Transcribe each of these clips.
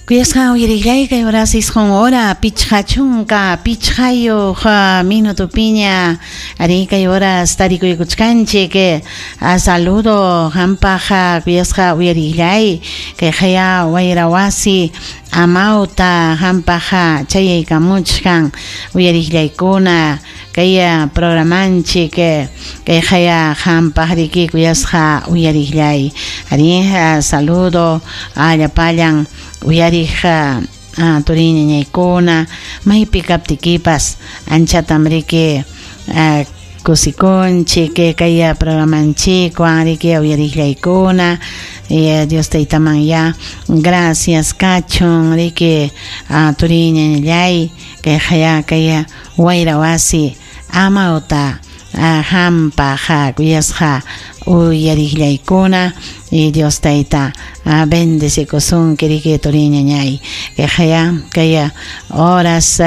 Kuyasqa uyariqllay kay horas 9 hora 55 minutopiña arí kay horas tarikuykuchkanchik saludo qampaq kuyasqa uyariqllay kay qaya wayra wasi amawta qampaq chayaykamuchkan uyariqllaykuna kay programanchik kay qaya qampaq riki kuyasqa uyariqllay arí saludo llapallan uyariq turiñañaykuna maypi kaptikipas anchatam riki kusikunchik kay programanchikwan riki uyariqllaykuna Dios taytaman ya gracias kachun riki turiñañallay kay qaya kay wayra wasi amawta hampaq kuyasqa uyariqllaykuna y Dios tayta bendecikusunki riki turiñañay kay qaya kay horas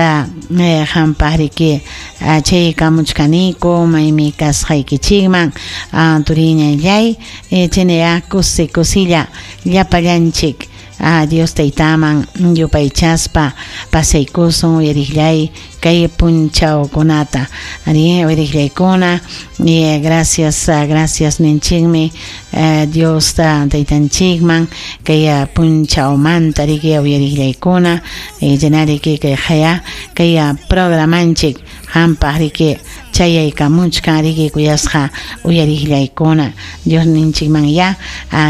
hampaq riki chaykamuchkaniku maymi kasqaykichikman turiñallay chinaya kusi kusilla llapallanchik Dios taytaman yupaychaspa pasaykusun uyariqllay kay punchawkunata ari uyariqllaykuna gracias gracias ninchikmi Dios taytanchikman kay punchawmanta riki uyariqllaykuna llenariki kay qaya kay programanchik hampaq riki chayaykamuchkan riki kuyasqa uyariqllaykuna Dios ninchikman ya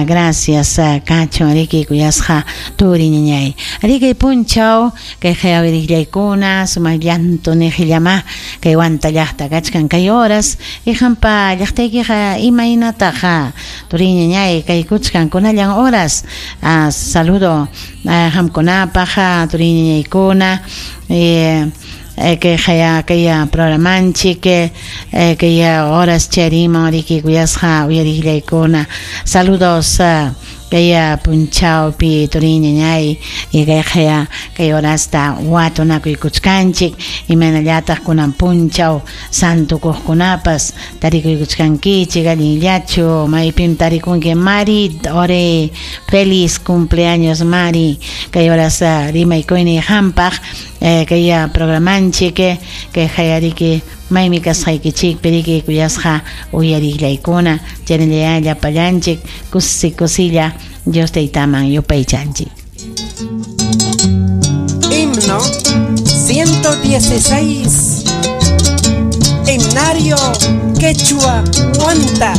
gracias kachun riki kuyasqa turiñañay riki punchaw kay qaya uyariqllaykuna sumaq llanto niqillama kay Huanta llaqta kachkan kay horas y hampa llaqtaykiqa imaynataqa turiñañay kaykuchkan kunallan horas saludo hamkunapaq turiñañaykuna kay qaya kay programanchik kay horas chariman riki kuyasqa uyariqllaykuna saludos kay punchawpi turiñañay y kay qaya kay horasta watunakuykuchkanchik imaynallataq kunan punchaw santukuqkunapas tarikuykuchkankichik allinllachu maypim tarikunki Mari ore feliz cumpleaños Mari kay horas rimaykuyni hampaq kay programanchik kay qayariki maymi kasqaykichikpi riki kuyasqa uyariqllaykuna chaynalla llapallanchik kusi kusilla Dios taytaman yupaychanchik. Himno 116 Himnario Quechua Huanta.